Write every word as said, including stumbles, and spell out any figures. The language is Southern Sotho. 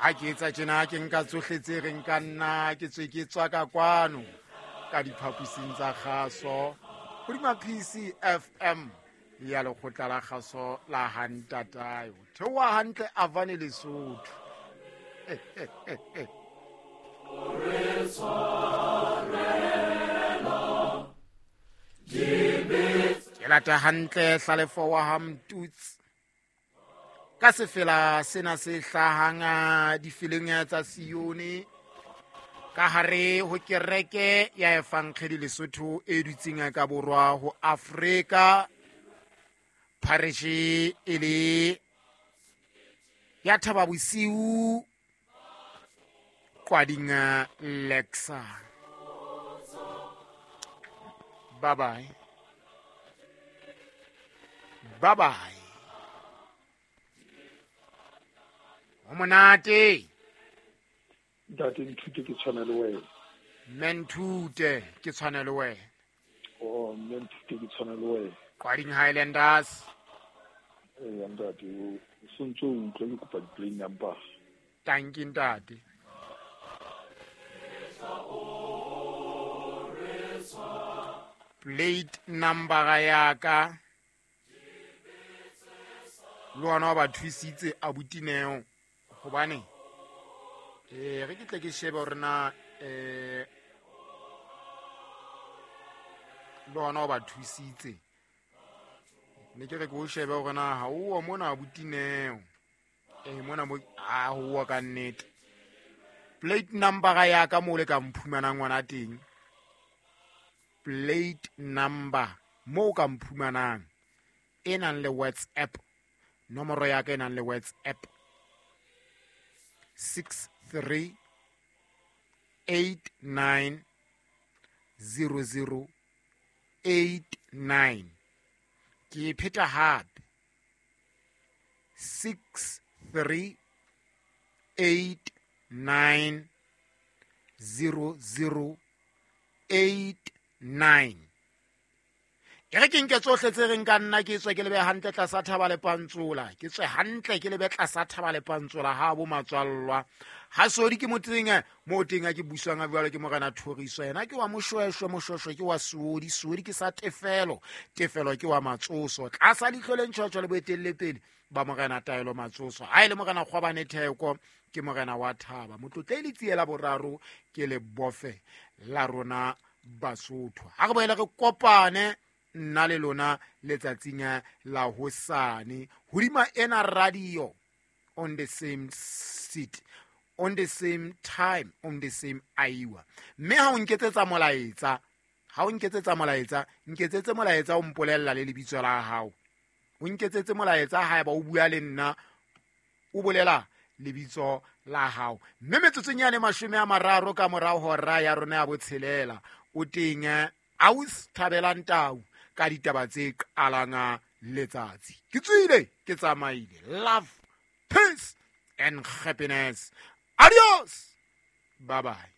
Ha ke etsa tjena ke nka tsohle tse reng ka nna ke tswe ke tswa ka kwano ka diphaposing tsa kgaso hodima P C F M ya lekgotla la kgaso la Hantatayo. Theoha hantle Avane Lesotho. Ke lata hantle Hlalefo wa ha Mtutsi ka sefela sena se hlahang difeleng tsa Sione ka hare ho kereke ya Evangelii Lesotho e dutseng ka borwa ho Afrika, parish e le ya Thaba Bosiu Kwading Lexa. Bye bye. Bye bye. O monate. Ntate Nthute ke tshwana le wena. Mme Nthute ke tshwana le wena. Oh, mme Nthute ke tshwana le wena. Kwading Highlanders. Eh, ntate, o sontso o utlwe ke kopa di-plane number. Thank you, ntate. Plate number ya ka le wona ba thusitse abutineo hobane eh re ke tle ke shebe hore na eh le wona ba thusitse ne ke re ke o shebe hore na ha o mona abutineo eh mona mo a ho ka nnete plate number ya ka mo le ka mphumanang ngwana teng. Plate number mo ka mphumanang e nang le WhatsApp, nomoro ya ka e nang le WhatsApp six three eight nine zero zero eight nine. Ke pheta hape six three eight nine zero zero eight nine. E re ke nke tsohle tse reng ka nna ke tswe ke lebe hantle tlasa Thaba le Pantsola, ke tswe hantle ke lebe tlasa Thaba le Pantsola ha bo matswallwa. Ha sodi ke motseng mo teng a ke buswang a jwalo ke morena Thoriso, yena ke wa Moshweshwe, Moshweshwe ke wa Seodi, Seodi ke sa Tefelo, Tefelo ke wa Matsoso. Tlasa leihlo le ntjhotjho le boetelle pele ba morena Taelo Matsoso. Ha e le morena Kgwabane Theko ke morena wa Thaba. Motlotle le tsiela boraro ke le bofe la rona Basotho. Ha re boele re kopane nna le lona letsatsing la hosane hodima ena radio on the same seat, on the same time, on the same hour. Mme ha o nketsetsa molaetsa, ha o nketsetsa molaetsa, nketsetse molaetsa o mpolella le lebitso la hao. O nketsetse molaetsa haeba o bua le nna, o bolela lebitso la hao. Mme metsotsong yane mashome a mararo ka morao hora ya rona ya botshelela o teng aus Thabelang Tau ka ditaba tse qalang letsatsi. Ke tswile, ke tsamaile. Love, peace and happiness. Adios. Bye bye.